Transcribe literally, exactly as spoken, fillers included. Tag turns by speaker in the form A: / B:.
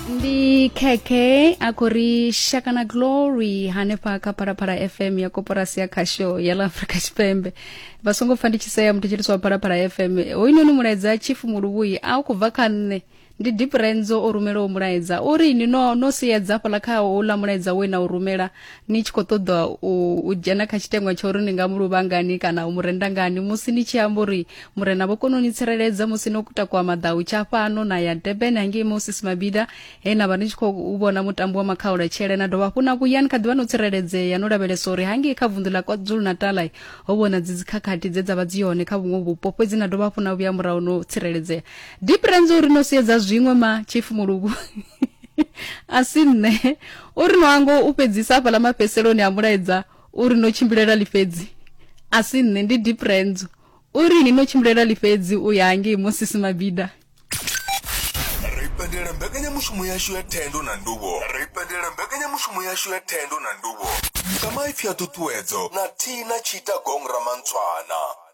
A: Ndi khekhe a khou ri shaka na glory hanefha kha Phalaphala F M ya koporasi ya khasho ya ḽa Afrika Tshipembe. Vha songo pfa ndi tshi sea muthetshelesi wa Phalaphala F M. Hoyunoni mulaedza, Chief Muluvhuyi, a u khou bva kha nṋe, ndi Deep Renzo o rumelaho mulaedza. Uri ni no no siedza fhaḽa kha houḽa mulaedza we na u rumela ni tshi khou ṱoḓa u, u dzhena kha tshiteṅwa tsha uri ni nga mu luvha ngani kana u mu renda ngani, musi ni tshi amba uri murena vho kona u ni tsireledza musi no takuwa maḓau tsha fhano na ya Durban hangei Moses Mabida, he na vha ni tshi khou vhona mutambo wa makhaula tshele, na dovha hafhu na vhuya ni kha ḓivha no tsireledzea, no lavhelesa uri hangei kha vunḓu ḽa KwaZulu Natal ho vhona dzi dzikhakhathi dze dza vha dzi hone kha vhuṅwe vhupo, fhedzi na dovha hafhu na vhuya murahu no tsireledzea. Deep Renzo uri no siedza zwiṅwe ma Chief Mulugu, a si nṋe. Uri no ango u fhedzisa hafhaḽa mafhedziseloni a mulaedza uri no tshimbilela ḽifhedzi, a si nṋe, ndi Deep Renzo. Uri ni no tshimbilela ḽifhedzi u ya hangei Moses Mabida.
B: Ri pendela mbekanyamushumo yashu ya thendo na nduvho. Ri pendela mbekanyamushumo yashu ya thendo na nduvho nga maipfi a ṱhuṱhuwedzo na thina tshita gong ramantswana.